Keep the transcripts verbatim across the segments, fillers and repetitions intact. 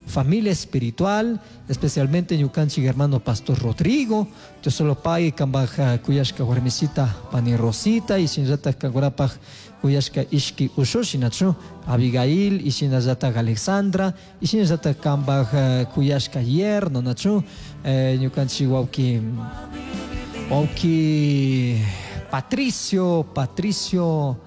Familia espiritual, especialmente ñukanchik hermano Pastor Rodrigo, Dios solo pague kambaj kuyashka warmisita pani Rosita y shinallatak kankunapaj kuyashka ishki ushushi nachu Abigail y shinallatak Alexandra y shinallatak kambaj kuyashka yerno nachu ñukanchik wawki wawki Patricio, Patricio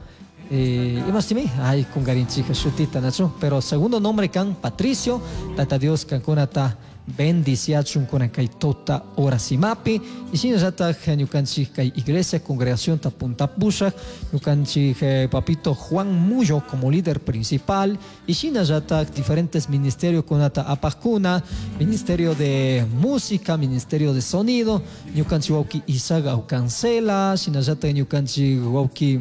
eh, imastimi ay kungarinchika shutita nachu pero segundo nombre kan Patricio, Tata Dios kankunata bendiciachun kunan kay tuta horasimapi y shinallatak ñukanchik kay iglesia congregación ta punta pushak ñukanchik eh, papito Juan Muyo como líder principal y shinallatak diferentes ministerios kunata apajkuna, ministerio de música, ministerio de sonido, ñukanchik wawki Isaac Aucancela, shinallatak ñukanchik wawki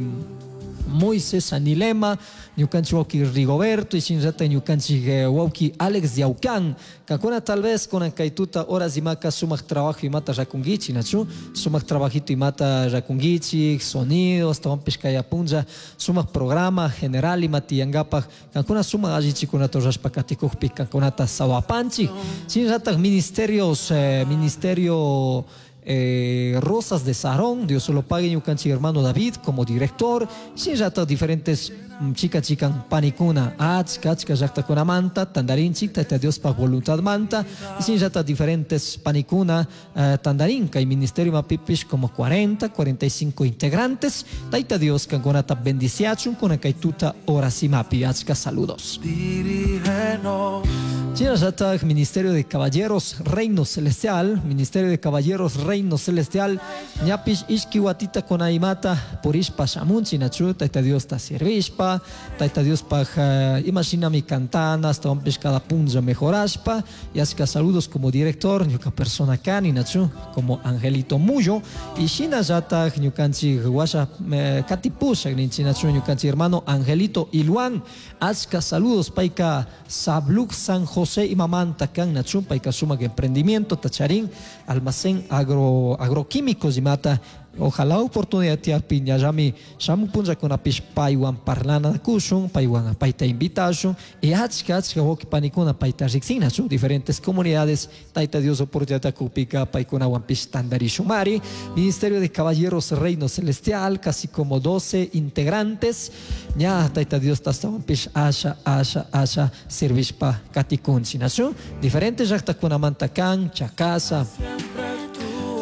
Moisés Anilema, ñukanchik wawki Rigoberto y shinallatak ñukanchik wawki Alex Yaucán. Kankuna tal vez kunan kay tuta horas imaka sumak trabajo imata rakunkichik nachu, sumak trabajito imata rakunkichik, sonidos, tawanpish kay apunlla, sumak programa general ima tiyankapak, kankuna sumak allichikunata rurashpa katikukpi kankunata sawapanchik. Shinallatak ministerios, eh, ministerio Eh, Rosas de Sarón, Dios solo pague ñukanchik hermano David como director, shinallatak diferentes chica chican panikuna, achka achka llaktakunamanta, tandarinchik, Tayta Diospa voluntad manta, y shinallatak diferentes panikuna, eh, tandarin, kay ministerio mapipish como cuarenta, cuarenta y cinco integrantes, Tayta Dios kankunata bendiciachun, kunan kay tuta horasimapi, achka saludos. Dirígenos. Shinallatak Ministerio de Caballeros Reino Celestial, Ministerio de Caballeros Reino Celestial, ñapish ishki watita konaimata purishpa shamunchi nachu, Tayta Dios ta servishpa, Tayta Dios paj, uh, imashinami cantana, hasta ompish cada punlla mejorashpa, y achka saludos como director, ñuka persona kani nachu, como Angelito Muyo, y shinallatak ñukanchik washa, eh, katipushak ninchi nachu, ñukanchik hermano Angelito Iluan, achka saludos payka Sabluk San José y mamanta kan nachu, payka sumak emprendimiento, tacharín, almacén agro, agroquímicos y mata, ojalá oportunidad tia piña yami shamu punlla kuna pish paywan parlana kushun, paywan payta invitashun, y achka achka wawqi panikuna payta riksina chu diferentes comunidades, Tayta Dios oportunidad kupika paykunawan pish tandarishumari. Ministerio de Caballeros Reino Celestial, casi como doce integrantes, ña Tayta Dios tastawan pish asha asha asha servishpa katikunchi nachu, diferentes llaqtakunamanta kan, Chacasa,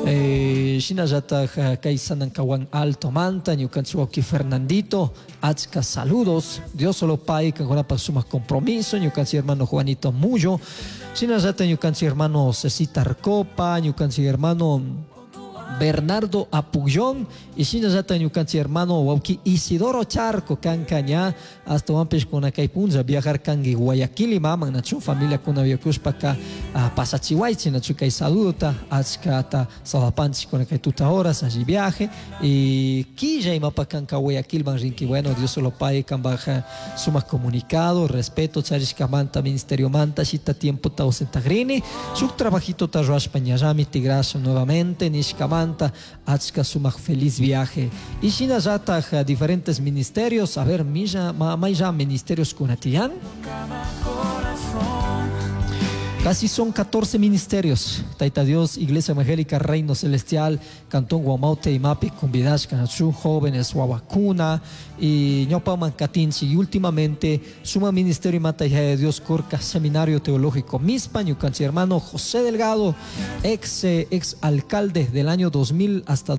Eh, shinallatak kay Sanancahuán Alto Manta, ñukanchik wawqi Fernandito, achka saludos, Dios solo pay kankunapaj sumak compromiso, ñukanchik hermano Juanito Muyo, shinallatak ñukanchik hermano Cecita Arcopa, ñukanchik hermano Bernardo Apullón y shinallatak ñukanchik hermano wawqi Isidoro Charco kanka ña hasta wampish kuna kay punlla viajar kanki Guayaquil y maman nachu familia kuna viakushpaka pasachiwaychi nachu kay saludota achkata sawapanchik kuna kay tuta horas allí viaje y quilla imapa kanka Guayaquil man rinki, bueno Dios solo pague kambaj sumak comunicado respeto charishkamanta ministerio manta shita tiempo ta ausentagrini shuk trabajito ta ruashpa ñallami tigrasha nuevamente nishkamanta achka sumak feliz viaje y shinallatak diferentes ministerios, a ver milla ma, maylla ministerios kunatiyan casi son catorce ministerios. Tayta Dios, Iglesia Evangélica, Reino Celestial, Cantón Guamaute y Mapi, Cumbidashka, Nachu, jóvenes, Huahuacuna y Ñopa Mancatinchi. Y últimamente, Suma Ministerio y Mata Hija de Dios, Corca, Seminario Teológico Mispa, ñukanchik hermano José Delgado, ex, eh, ex alcalde del año dos mil hasta